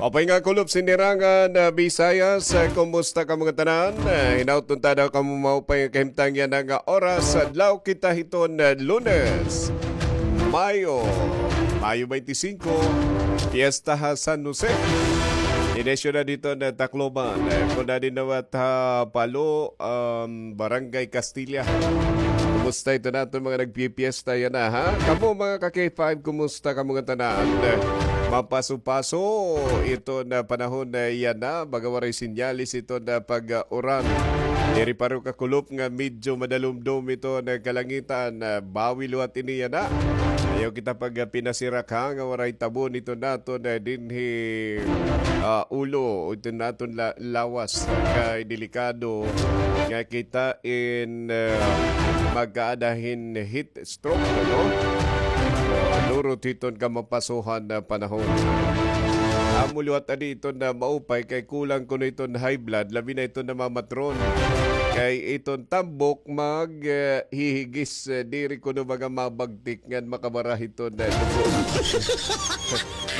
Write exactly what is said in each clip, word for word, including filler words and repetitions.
Upay nga kulop, sinirangan, ah, Bisayas, ah, kumusta kamo ngatanan? Ah, hinaut unta daw kamo maupay nga kahimtang yana nga oras, adlaw kita hiton, ah, Lunes, Mayo, Mayo twenty-five, piyesta ha San Jose. Inisyu na didto ha Tacloban. Ah, kon adi nawat ha Palo, um, Barangay Castilla. Kumusta iton aton mga nagpipiyesta yana, ha? Kamo, mga ka-K five, kumusta kamo ngatanan? Mapaso-paso iton panahon yana, baga waray sinyalis iton pag-uran. Diri pa rin kakulop nga medyo madalumdom iton kalangitan. Bawi liwat ini yana. Ayaw kita pagpinasirak, ha, nga waray tabon iton aton dinhi, ah, ulo, iton aton la-, lawas, kay delikado nga kita in, ah, magkaada hin heat stroke, ano? Ah, nurot hiton kamapasohan nga panahon. Amo liwat adi iton nga maupay kay kulang kuno iton high blood, labi na iton namamatron. Kay iton tambok mag, eh, hihigis, eh, diri kuno baga mabagtik ngan makabara hiton nga dugo.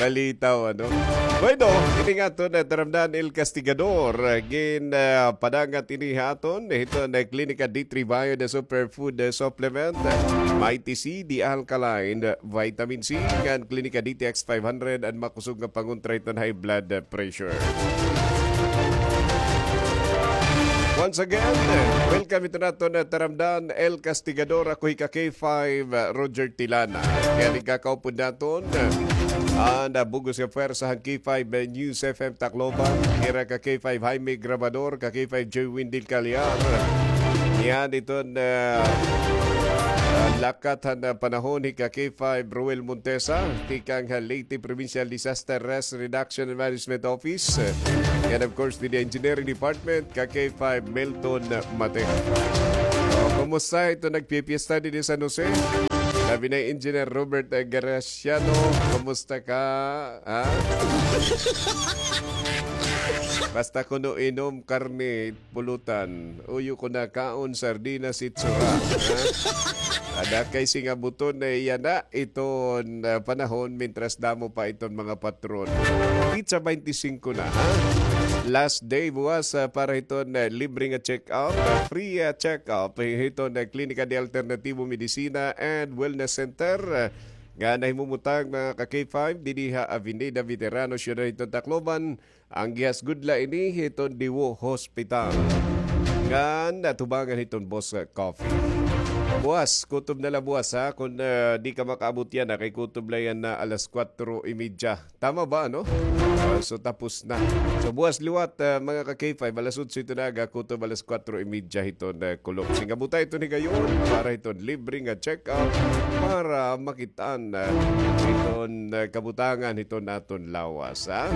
Balitaw, ano? Bueno, ini nga aton, eh, taramdan, El Castigador, eh, gin, eh, padangat ini ha aton, eh, hiton, eh, Klinika D three Bio, the superfood, eh, supplement, eh, Mighty C, the alkaline, eh, vitamin C, ngan Klinika D T X five hundred, an makusog nga pangontra hiton high blood, eh, pressure. Once again, welcome iton aton, uh, taramdan, El Castigador, ako hi ka K five, uh, Roger Tilana. Kay an igkakaupod naton, uh, an, uh, bug-os nga pwersa han K five, uh, News F M Tacloban, hira ka K five Jaime Grabador, ka K five Joey Windel Caliar. Niyan iton, uh, uh, lakat han, uh, panahon hi ka K five Roel Montesa, tikang ha Leyte Provincial Disaster Risk Reduction and Management Office. And of course, didi Engineering Department, ka K five Milton Mate. O, kumusta iton nagpipiesta didi San Jose? Labi na Engineer Robert, eh, Graciano, kumusta ka? Ha? Basta kuno inom, karne, pulutan. Uyo kuno kaon, sardinas, itsura. Ha? Ada kay singabuton na yana iton, ah, panahon, mintras damo pa iton mga patron. Petsa twenty-five na, ha? Last day buwas, ah, para hiton, ah, libre nga check-up, ah, free, ah, check-up, eh, hiton, ah, Klinika de Alternativo Medicina and Wellness Center, ah, nga nahimumutang, mga ka K five, didi ha Avenida Veterano, Siyudad hiton Tacloban, an gihasgod la ini hiton Diwo Hospital. Ngan natubangan hiton Boss Coffee. Buwas, kutob na la buwas, ha. Kon, ah, di ka makaabot yana, kay kutob la yana alas kuwatro y medya. Tama ba, no? Ah, so, tapos na. So, buwas liwat, ah, mga ka K five, alas otso hiton aga, kutob alas kuwatro y medya hiton, ah, kulop. Singabuta iton higayon para hiton libre nga check-up para makit-an, ah, iton, ah, kabutangan hiton aton lawas, ha?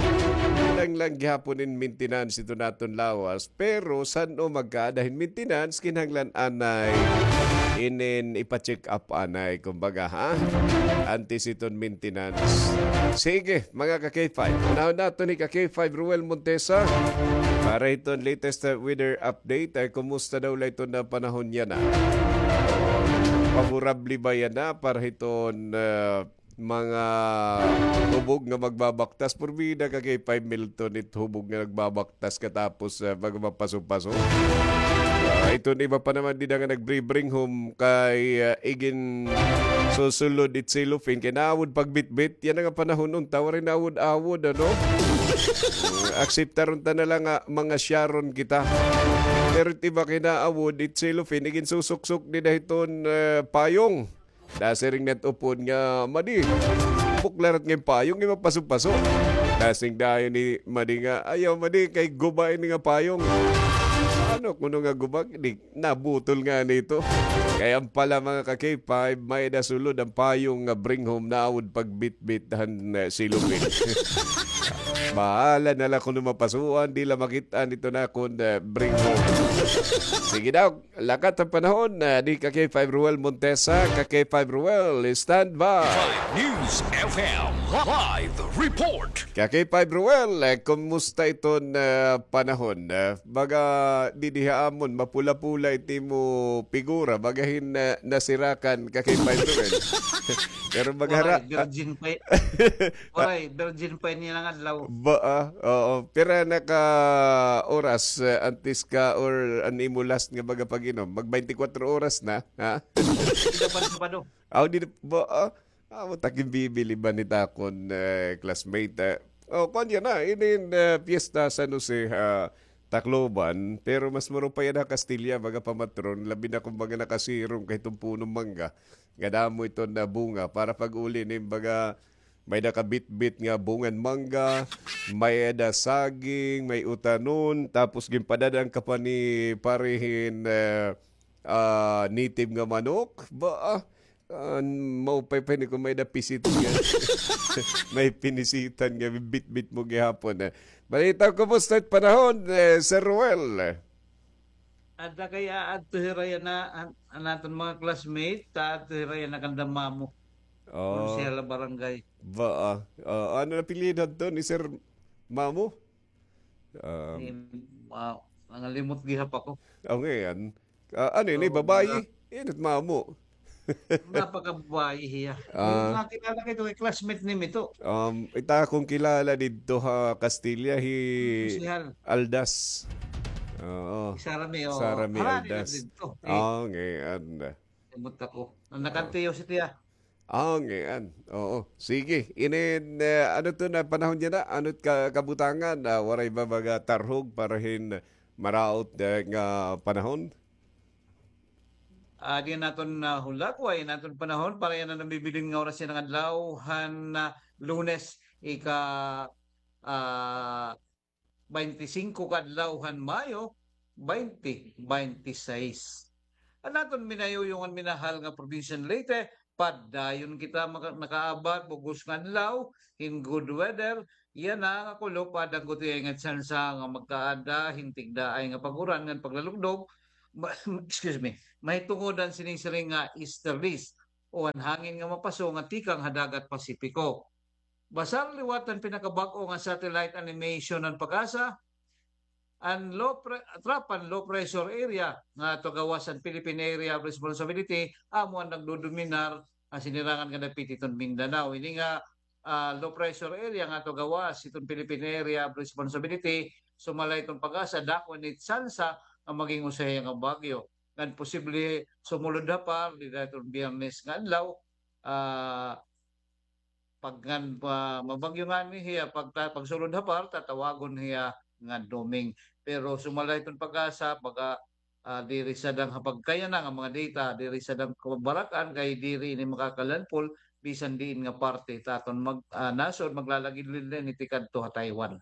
Kinahanglan gihapon in maintenance iton aton lawas, pero san-o magkaada hin maintenance, kinahanglan anay inin ipa-check up anay, kumbaga, ha? Antes iton maintenance. Sige, mga ka K five, unahon naton hi ka K five Roel Montesa para hiton latest, ah, weather update. Ay, kumusta daw la iton, ah, panahon yana? Favorable ba yana para hiton, ah, mga hubog nga magbabaktas? Purbida ka kay Pay Milton it hubog nga nagbabaktas katapos, ah, pag mapaso-paso. Ah, iton iba pa naman dida nga nagbre-bring home kay, ah, igin susulod it cellophane kay naawod pagbitbit. Yana nga panahon unta, waray naawod-awod, ano? Akseptar unta na la nga mga Sharon kita. Pero it iba kay naawod it cellophane, igin susuksok dida hiton, eh, payong. Nasiring na it upod nga, "Madi, bukla rat nga payong, iba paso-paso." Nasiring dayon ni Madi nga, "Ayaw, Madi, kay guba ini nga payong." Ano kuno nga guba? Di nabutol ngani ito. Kay an pala, mga ka K five, may-ada sulod an payong nga bring home, naawod pagbitbit han, eh, cellophane. Bahala na la kuno mapasuan, di la makit-an iton akon, eh, bring home. Sige daw, lakat han panahon, eh, ni ka K five Roel Montesa, ka K five Roel, stand by. Five News F M live report. Ka K five Roel, eh, kumusta iton, eh, panahon? Eh, baga didi ha amon, mapula-pula it imo figura, baga hin, eh, nasirakan, ka K five Roel. Pero baga hira-, waray, virgin pa y-, waray, virgin pa ini nga adlaw. Ba, ah, oo. Pira na ka oras, eh, antes ka or an imo last nga baga pag-inom? Mag twenty-four oras na, ha? Di na pa, di pa, do. Aw, di na, ba, ah? Amo takin bibili ba ni takon, eh, classmate, eh? Oh, kuan yana, inin, eh, piyesta San Jose, ah, Tacloban, pero mas murupay ada Castilla, baga pamatron, labi na kung baga nakasirong kay itong punong mangga. Nga damo iton na bunga para pag-uli ni baga may nakabitbit nga bungan mangga, may ada saging, may utanon, tapos ginpadadaan ka pa ni parihin, eh, ah, native nga manok. Ba, ah, ah, maupay pa ini kung may da pisit nga. May pinisitan nga bitbit mo gihapon, eh. Balita, kumusta it panahon, eh, Sir Ruel? Ada kay aadto hira yana, an, an aton mga classmate, aadto hira yana kanda Mamo. Oh. Konsehal ha barangay. Ba, ah, ah, ano na apelyido adto ni Sir Mamo? Ah, Ni, ah, nangalimot gihap ako. Oh, ngayon. Ah, ano ini, babayi? Init Mamo. Napakababayi hiya. Ah. Nakilala ko ito, kay classmate ni Mito. Um, ita akong kilala didto ha Castilla, hi Konsehal Aldas. Oo. Sara May, oh. Sara May Aldas. Didto. Eh, oh, ngayon. Limot ako. Ang nakantiyo si Tiya. Ah, ngayon. Oo. Sige. Inin, eh, ano to na panahon niya na? Ano't ka-, kabutangan? Ah, waray ba baga tarhog para hin maraot, eh, nga panahon? Ah, di naton na hulagway, naton panahon para yana nabibilin nga oras yana nga adlaw han, ah, Lunes, ika, ah, twenty-cinco ka adlaw han Mayo, twenty twenty-six. An aton minayuyong an minahal nga probinsya han Leyte, padayon kita maka-, nakaabat, bug-os nga adlaw, hin good weather, yana nga kulop, aada gutiay nga tsansa nga magkaada hin tigdaay nga pag-uran ngan paglalugdog, ma-, excuse me, mahitungod han sinisiring nga easterlies o an hangin nga mapaso nga tikang ha dagat Pasipiko. Basar liwat han pinakabag-o nga satellite animation han PAGASA, an low pre-, tropa han low pressure area nga aadto gawas han Philippine Area of Responsibility, amo an nagdodominar nga sinirangan nga dapit hiton Mindanao. Ini nga, ah, low pressure area nga aadto gawas hiton Philippine Area of Responsibility, sumala hiton PAGASA, dako ini tsansa nga maging usa hiya nga bagyo. Ngan posible sumulod ha par, dida hiton Biyernes nga adlaw, ah, pag ngan, ah, mabagyo ngani hiya, pag ta-, pagsulod ha par, tatawagon hiya nga doming. Pero sumala hiton PAGASA, baga, ah, diri sadang ha pagkayana nga mga data, diri sadang kabarak-an kay diri ini makakalandfall bisan diin nga parte ta aton mag-, ah, nasod, maglalagid-lid na ini tikadto ha Taiwan.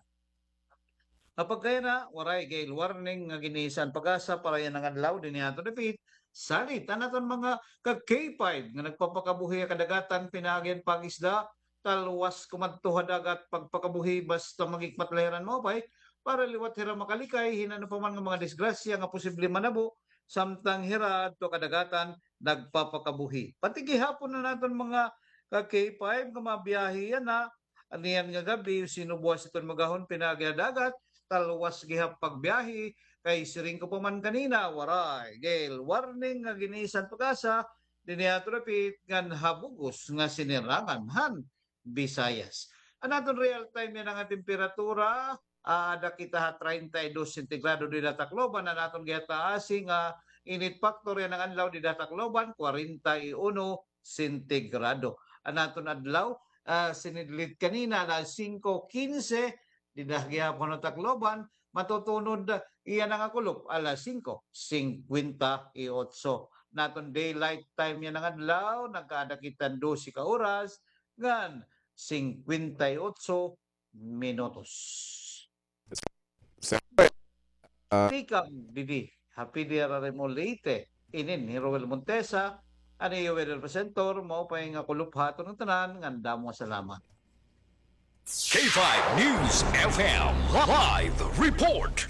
Ha pagkayana, waray gale warning nga giniisa han PAGASA para yana nga adlaw dinhi ha aton dapit. Salit an aton mga ka-K five nga nagpapakabuhi ha kadagatan pinaagi han pag-isda, talwas kumadto ha dagat pagpakabuhi basta maghikmat la hira hin maupay para liwat hira makalikay hin ano pa man nga mga disgrasya nga posible manabo samtang hira adto ha kadagatan nagpapakabuhi. Pati gihapon an aton mga ka-K five nga mabiyahe yana, aniyan nga gab-i, sinubwas iton magahon pinaagi ha dagat, talwas gihap pagbiyahe, kay siring ko pa man kanina, waray gale warning nga giniisa han PAGASA dinhi ha aton dapit ngan ha bug-os nga sinirangan han Visayas. An aton real time yana nga temperatura, aada kita ha treinta y dos sentigrado dida ha Tacloban, an aton gihataasi nga init factor yana nga adlaw dida ha Tacloban, kwarenta y uno sentigrado. An aton adlaw, ah, sinidlit kanina alas singko kinse, dida gihapon ha Tacloban, matutunod yana nga kulop alas singko singkwenta y otso. An aton daylight time yana nga adlaw, nagkaada kita hin dose ka oras ngan singkwenta y otso minutos. Sir, ah, tikang didi ha P D R R M O Leyte, inin hi Roel Montesa, an iyo weather presenter, maupay nga kulop ha aton ngatanan, ngan damo nga salamat. K five News F M live report.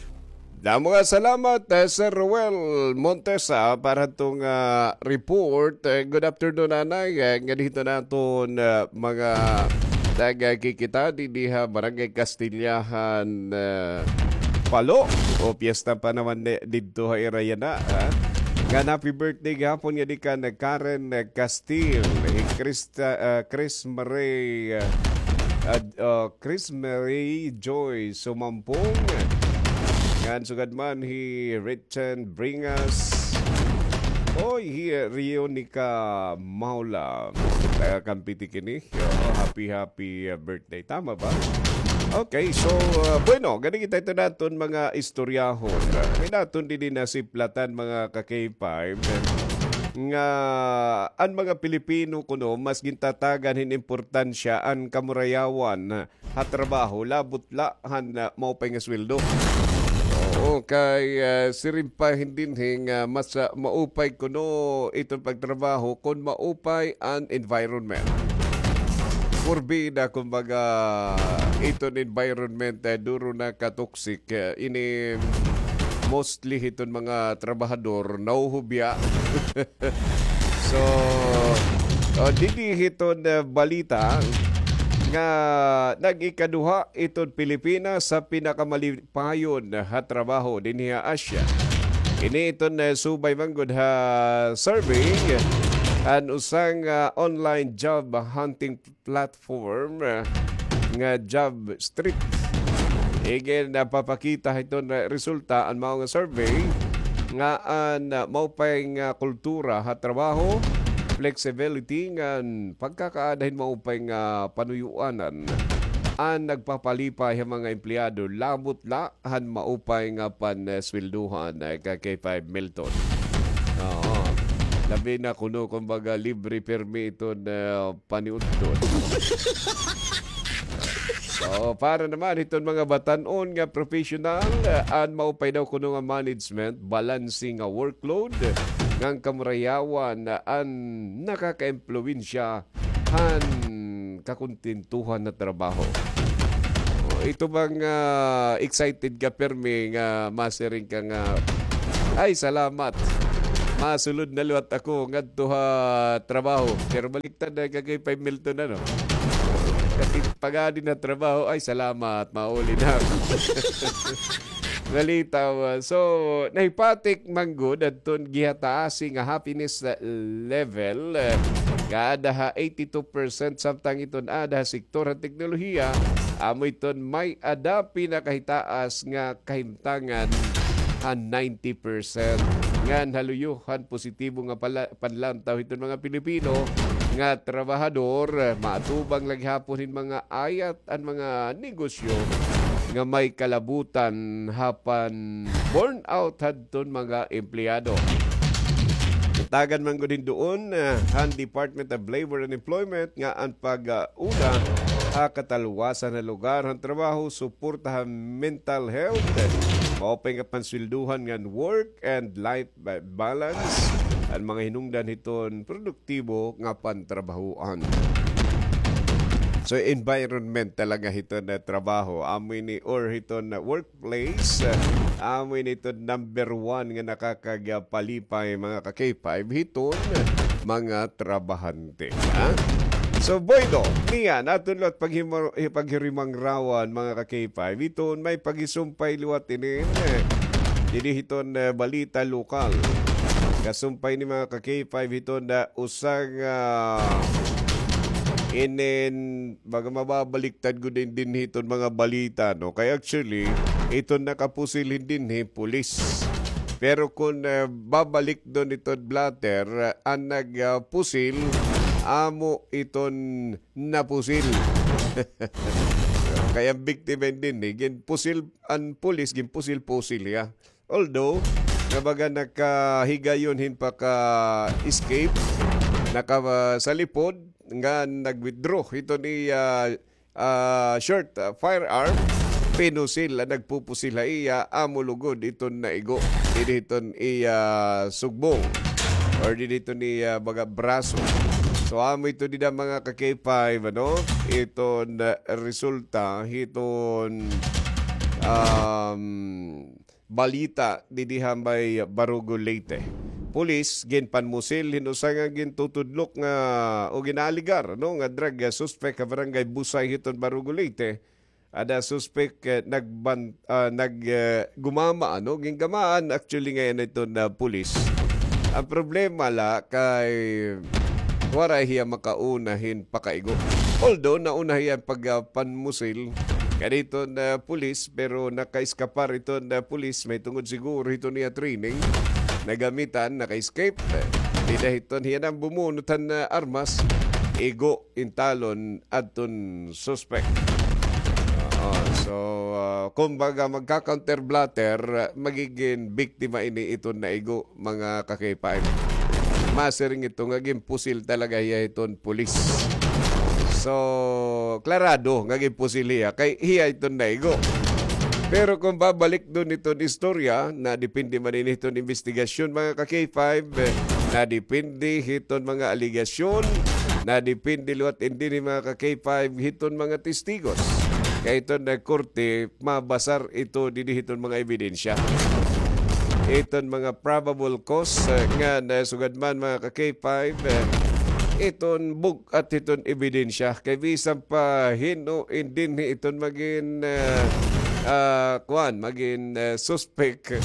Damo nga salamat, eh, Sir Roel Montesa, para hadto nga report. Eh, good afternoon, Nanay. Eh, nganhi hito an aton, eh, mga nagkikita didi ha Barangay Castilla han, eh, Palo. O, piyesta pa naman ni-, didto ha ira yana, ha? Ngan happy birthday gihapon ngadi kan Karen, eh, Castil, hi Krista, eh, Chris Marie, eh, Ad, ah, Chris Marie Joy Sumampong. Ngan sugad man hi Richard Bringas. Oy, hi Rionica Maula. Taga Kampiti kini. Oo, happy, happy, ah, birthday. Tama ba? Okay, so, ah, bueno, gani kita ito naton mga istoryahon. May naton din nasiplatan, mga ka-K five, nga an mga Pilipino kuno mas gintatagan hin importansya an kamurayawan ha trabaho, labot la han, ah, maupay nga sweldo. Oo, kay, ah, siring pa hin dinhi nga mas, ah, maupay kuno iton pagtrabaho kon maupay an environment. Kurbida, kumbaga, iton environment, eh, duro na ka-toxic, eh, ini mostly hiton mga trabahador, nahuhubya. So, oh, didi hiton, eh, balita nga nag-ikaduha iton Pilipinas sa pinakamalipayon ha trabaho dinhi ha Asia. Ini iton, eh, subay man gud ha survey an usa nga online job hunting platform, eh, nga Job Street. Igin napapakita hiton resulta an mao nga survey nga an, ah, maupay nga kultura ha trabaho, flexibility ngan pagkakaada hin maupay nga panuyoanan an nagpapalipay ha mga empleyado, labot la han maupay nga pansweldohan, eh, ka-K five Milton. Oo. Labi na kuno, kumbaga, libre pirmi iton, eh, paniudto. So, para naman hiton mga batan-on nga professional, eh, an maupay daw kuno nga management, balanse nga workload, ngan kamurayawan an nakakaimpluwensya han kakontentuhan na trabaho. O, ito bang, ah, excited ka pirmi nga masiring ka nga, "Ay, salamat. Masulod na liwat ako ngadto ha trabaho." Pero baliktad na kay Pay Milton, ano? Kasi pag-adi na trabaho, "Ay, salamat. Mauli na ako." Balita, ah, so, nahipatik man gud adton gihataasi nga happiness, ah, level, ah, nga ada ha eighty-two percent, samtang iton ada ha sektor ha teknolohiya, amo iton may-ada pinakahitaas nga kahimtangan ha ninety percent. Ngan ha luyo han positibo nga pala-, panlantaw hiton mga Pilipino nga trabahador, maatubang la gihapon hin mga ayat an mga negosyo nga may kalabutan ha pan-burnout hadton mga empleyado. Tagan man gud hin duon, ah, han Department of Labor and Employment nga an pag-, ah, una ha katalwasan ha lugar han trabaho, suporta ha mental health, maupay nga pansweldohan ngan work and life ba-, balance, an mga hinungdan hiton produktibo nga pantrabahoan. So, environment talaga hiton na trabaho. Amo ini or hiton na workplace, amo ini hiton number one nga nakakagpalipay, mga ka-K five, hiton mga trabahante. Ha? So, bueno, niyan, aton liwat paghimo-, paghirimangrawan, mga ka-K five, hiton may paghisumpay liwat inin, eh, didi hiton, eh, balita lokal. Kasumpay ni mga ka-K five hiton na usa nga inin, baga mababaliktad gud din, din hiton mga balita, no? Kay actually, iton nakapusil hin dinhi, pulis. Pero kun, eh, babalik don iton blotter, eh, an nag, ah, pusil, amo iton napusil. Kay an biktima hin dinhi, ginpusil, an pulis, ginpusil-pusil hiya. Although, nga baga nakahigayon hin paka-escape, naka, ah, sa lipod, nga nag-withdraw hiton iya, ah, short, ah, firearm, pinusil, ah, nagpupusil ha iya, amo lugod iton naigo, didi hiton iya sugbong, or didi hiton iya baga braso. So, amo ito dida mga ka-K five, ano, iton, ah, resulta hiton, um, balita didi ha may Barugo, Leyte. Pulis, ginpanmusil hin usa nga gintutudlok nga o ginaaligar, no, nga drug, ah, suspect ha barangay Busay hiton Barugo, Leyte. Ada suspect, eh, nagban-, ah, nag, eh, gumama, ano, gingamaan actually ngay-an iton na pulis. An problema la kay waray hiya makauna hin pakaigo. Although, nauna hiya pag, ah, panmusil kaniton, ah, pulis, pero naka-eskapar iton, ah, pulis, mahitungod siguro hiton iya training. Nagamitan, naka-escape. Dida hiton hiya na an bumunot han, ah, armas, igo intalon adton suspek. Oo, so, ah, kumbaga, magka-counter blotter, ah, magigin biktima ini iton naigo, mga ka-K five. Masiring ito nga ginpusil talaga hiya hiton pulis. So, klarado nga ginpusil hiya kay hiya iton naigo. Pero kon babalik dun iton istorya, nadepende man ini hiton imbestigasyon, mga ka-K five, eh, nadepende hiton mga alegasyon, nadepende liwat ini, mga ka-K five, hiton mga testigos. Kay iton, eh, korte, mabasar ito dinhi hiton mga ebidensya. Iton mga probable cause, eh, nga nasugad man, mga ka-K five, eh, iton bug-at hiton ebidensya. Kay bisan pa hin-o in dinhi iton magin, eh, ah, kuan, magin, eh, suspek.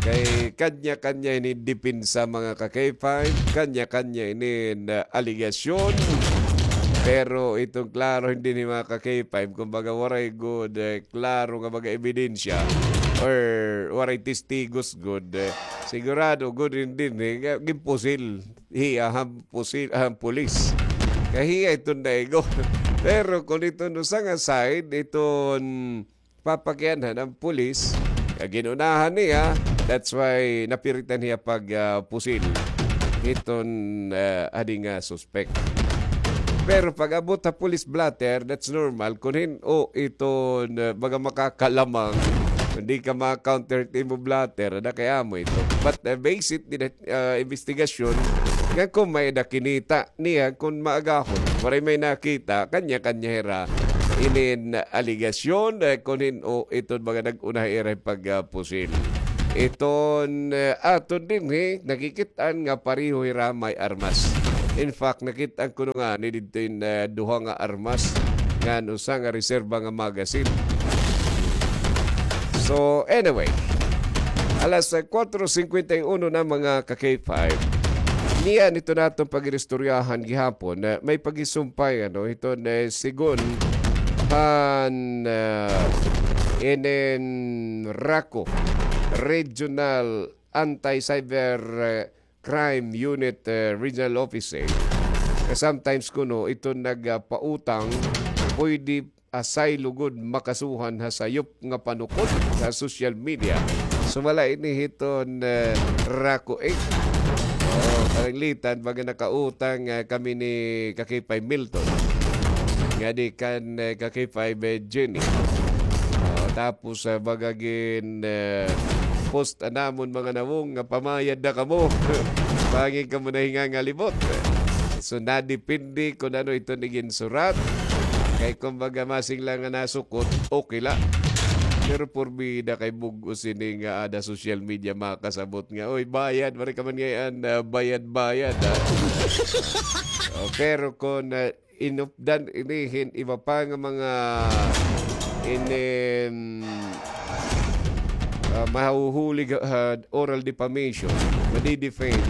Kay kanya-kanya ini depensa, mga ka-K five, kanya-kanya ini na alegasyon. Pero iton klaro hin dinhi, mga ka-K five, kumbaga waray gud, eh, klaro nga mga ebidensya or waray testigos gud, eh, sigurado gud hin dinhi nga ginpusil hiya han pusil, han pulis. Kay hiya iton naigo. Pero kon iton usa nga side, iton papakianhan an pulis, nga gin-unahan niya, that's why napiritan hiya pag, ah, pusil hiton, ah, adi nga suspek. Pero pag-abot ha police blotter, that's normal. Kon hin-o iton, ah, baga makakalamang, kon di ka ma-counter it imo blotter, ada kay amo ito. But, ah, base it dida, ah, investigasyon, nga kon may-ada kinita niya kon maagahon. Waray may nakita, kanya-kanya hira inin alegasyon, eh, kon hin-o iton mga nag-una ha ira pag, ah, pusil. Iton, eh, aton dinhi, nakikit-an nga pareho hira may armas. In fact, nakit-an kuno ngani didto in, eh, duha nga armas, ngan usa nga reserba nga magazine. So, anyway, alas, eh, kuwatro singkwenta y uno na, mga ka-K five. Niyan ito naton pag-iristoryahan gihapon na may pagisumpay, ano, ito na sigon han, ah, inin RACU, Regional Anti-Cyber, eh, Crime Unit, eh, Regional Office, eh. Sometimes kuno ito nagpautang, pwede asay lugod makasuhan ha sayop nga panukod sa social media. Sumala ini hiton, eh, RACU, eh. Oo, pananglitan, baga nakautang, eh, kami ni ka-K five Milton. Ngadi kan, eh, ka-K five, eh, Jenny. Oo, tapos, eh, baga gin, eh, post an amon mga nawong nga pamayad na kamo. Bangin kamo nahingangalibot. So, nadepende kon ano iton iginsurat. Kay kumbaga, masing la nga nasukot, okay la. Pero porbida kay bug-os ini nga ada social media makasabot nga, "Oy, bayad, waray ka man ngay-an, ah, bayad-bayad, ah." Oh, pero kon, ah, inupdan ini hin iba pa nga mga inin, ah, mahuhulig ha, ha oral defamation, madi-defame,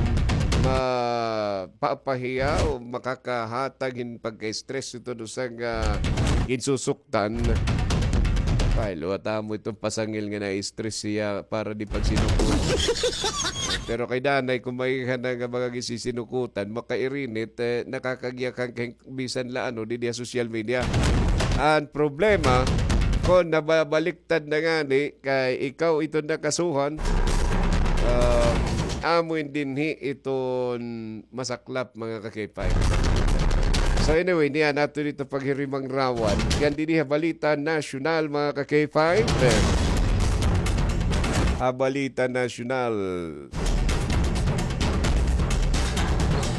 mapapahiya o makakahatag hin pagka-stress ito do sa nga ginsusuktan. Ay, liwat amo iton pasangil nga na-stress hiya para di pagsinukot. Pero kay danay, kon may hana nga mga gisisinukutan, makairinit, eh, nakakagiyakan kay bisan la ano, didi ha social media. An problema, kon nababaliktad na ngani, kay ikaw iton nakasuhan, ah, amo in dinhi iton masaklap, mga ka-K five. So anyway, niyan naton ito paghirimangrawon. Yan didi ha balita nasyonal, mga ka-K five. Ha balita nasyonal.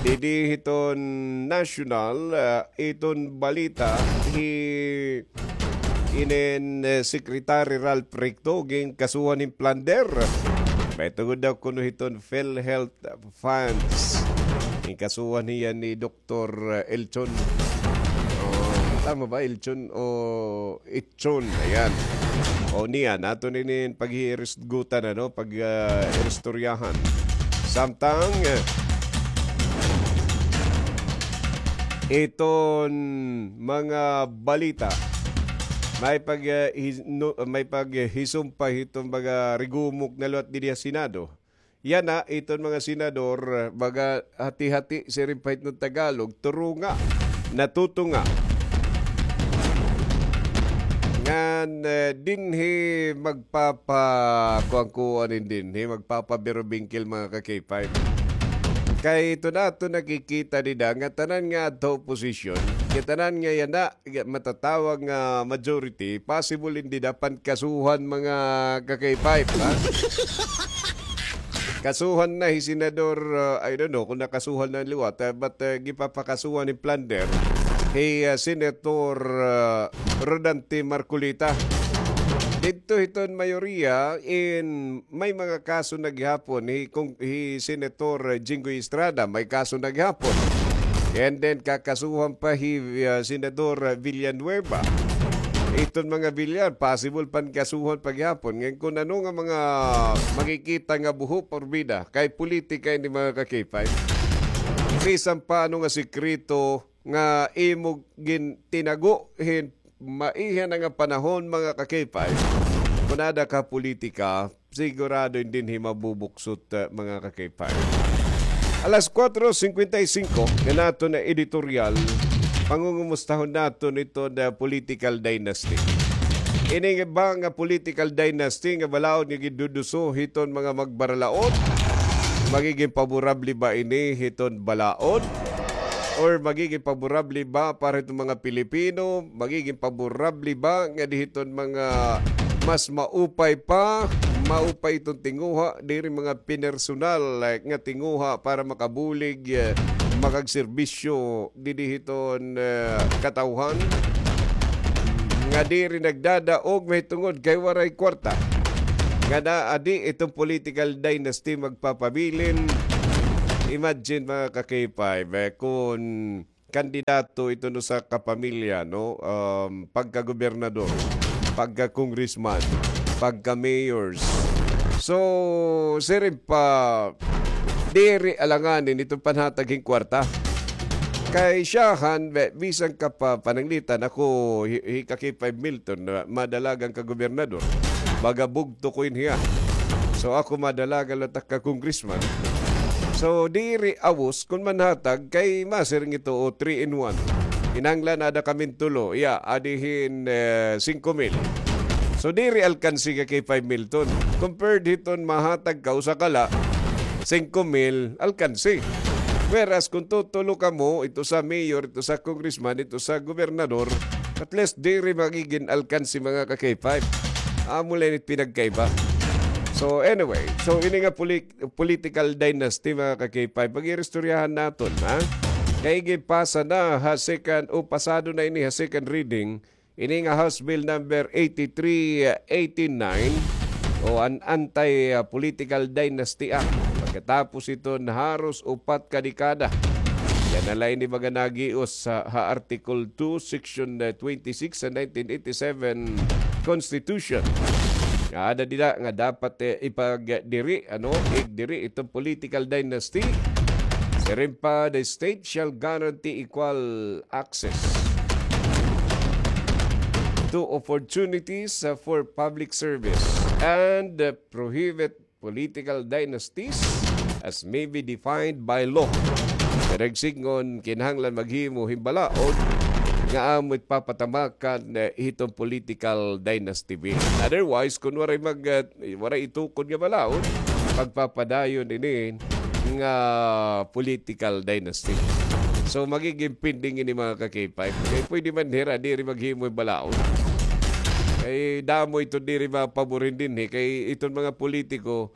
Didi hiton nasyonal, ah, iton balita hi inin, eh, Secretary Ralph Recto ginkasuhan hin plunder. Mahitungod daw kuno hiton PhilHealth funds. Ginkasuhan hiya ni Doktor Elchon. Oh, tama ba, Elchon o Ichon? Ayan. O niyan, aton ini paghihirisgutan, ano, pag, ah, iristoryahan. Samtang, eh, iton mga balita. May pag, eh, his-, no, may paghisumpay hiton mga rigumok na liwat didi ha Senado. Yana, iton mga senador, mga hati-hati, siring pa hiton Tagalog, turunga, natutunga. Ngan, eh, dinhi magpapa-, kuan-kuan dinhi, magpapabirobingkil, mga ka-K five. Kay ito na ito nakikita dida nga tanan nga adto oposisyon, kay tanan nga yana, matatawag nga majority, possible in dida pankasuhan, mga ka-K five, ha? Kasuhan na hi Senador, uh, I don't know kung nakasuhan na liwat, uh, but, uh, gipapakasuhan hin plunder hi, uh, Senator, uh, Rodante Marcoleta. Didto hiton mayoriya in may mga kaso na gihapon hi, kung, hi Senator Jinggoy Estrada, may kaso na gihapon. And then, kakasuhan pa hi, uh, Senador Villanueva. Iton mga Villar, possible pankasuhan pa gihapon. Ngayon, kung ano nga mga makikita nga buho porbida, kay politika ini, mga ka-K five. Bisan pa ano nga sikreto nga imo gin-, tinago hin maiha na nga panahon, mga ka-K five. Kung ada ka politika, sigurado dinhi mabubuksot, uh, mga ka-K five. Alas kuwatro singkwenta y singko, nga naton na editorial, pangungumustahon naton ito na political dynasty. Ini nga ba nga political dynasty nga balaod nga giduduso hiton mga magbaralaod? Magiging paborable ba ini hiton balaod? Or magiging paborable ba para hiton mga Pilipino? Magiging paborable ba nga di hiton mga mas maupay pa, maupay iton tinguha, diri mga pinersonal, like, nga tinguha para makabulig, eh, makagserbisyo didi hiton, eh, katawhan? Nga diri nagdadaog mahitungod kay waray kwarta. Nga naadi iton political dynasty magpapabilin. Imagine, mga ka-K five, eh, kung kandidato iton usa ka pamilya, no? Um, pagkagobernador, pagka-congressman, pagka-mayors. So, siring pa, diri alanganin iton panhatag hin kwarta. Kay siyahan, be-, bisan ka pa pananglitan, ako, hi-, hi ka-K five Milton, na madalagan ka gobernador. Baga bugto ko in hiya. So, ako madalagan la ta ka congressman. So, diri awos kun manhatag kay masiring ito o three in one. Kinahanglan ada kami tulo. Iya, adi hin, eh, singko mil. So, diri alkansi ka-K five Milton. Compared hiton mahatag ka usa ka la, singko mil, alkansi. Whereas, kung tutulo kamo, ito sa mayor, ito sa congressman, ito sa gobernador, at least diri magigin alkansi, mga ka-K five. Amo la ini it pinagkaiba. So, anyway, so ini nga poli-, political dynasty, mga ka-K five, pag-iristoryahan naton, ha? Kay gipasa na ha second, o pasado na ini ha second reading, ini nga House Bill number eighty-three eighty-nine o an Anti, ah, Political Dynasty Act. Pagkatapos iton haros upat ka dekada, yana la ini baga nagios ha, ha Article two, Section, eh, twenty-six sa nineteen eighty-seven Constitution. Nga ada dida nga dapat, eh, ipagdiri, ano, igdiri iton political dynasty. Siring pa, the state shall guarantee equal access to opportunities, uh, for public service and, uh, prohibit political dynasties as may be defined by law. Pero sidngon, kinahanglan maghimo hin balaod nga amo it papatamakan, eh, hiton political dynasty bill. Otherwise, kun waray mag-, eh, waray itukod nga balaod, pagpapadayon ini nga political dynasty. So, magiging pending ini, mga ka-K five. Kay pwede man hira diri maghimo hin balaod. Kay damo ito diri mapaborin dinhi. Kay iton mga politiko,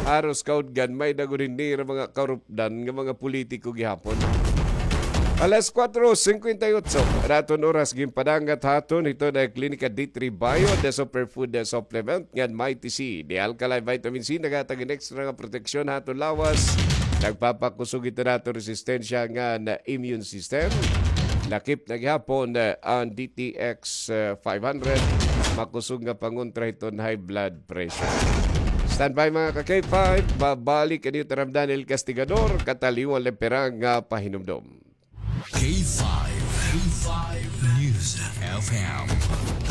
haros kaudgan, may-ada gud ini hira mga karupdan nga mga politiko gihapon. Alas kuwatro singkwenta y otso, an aton oras ginpadangat ha aton, ito na Klinika D three Bio, the superfood, the supplement, ngan Mighty C, the alkaline vitamin C, naghatag hin extra nga proteksyon ha aton lawas, nagpapakusog ito ha aton resistensya ngan immune system. Lakip na gihapon, eh, an D T X, eh, five hundred, makusog nga pangontra hiton high blood pressure. Standby, mga ka-K five, babalik an iyo taramdan, El Castigador, kataliwan la pirang nga pahinumdom. K five, K five News F M,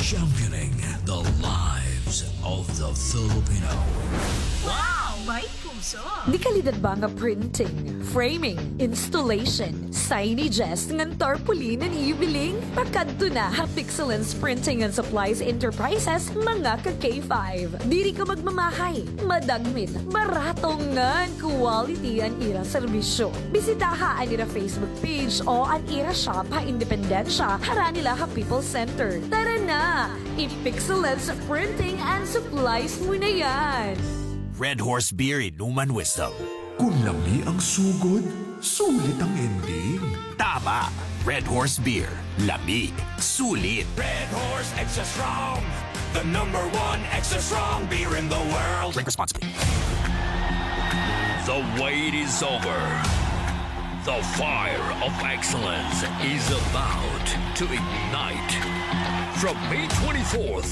championing the lives of the Filipino. Wow! May puso! Di kalidad ba nga printing, framing, installation, signages, ngan tarpaulin an ibiling? Pakadto na ha Pixelens Printing and Supplies Enterprises, mga ka K five. Diri ka magmamahay, madagmit, barato ngan quality an ira serbisyo. Bisitaha an ira Facebook page o an ira shop ha Independencia, harani la ha People's Center. Tara na! I-Pixelens Printing and Supplies mo na yan! Red Horse Beer, inuman wisdom. Kung lami ang sugod, sulit ang ending. Tama! Red Horse Beer. Lami. Sulit. Red Horse Extra Strong, the number one extra strong beer in the world. Drink responsibly. The wait is over. The fire of excellence is about to ignite. From May twenty-fourth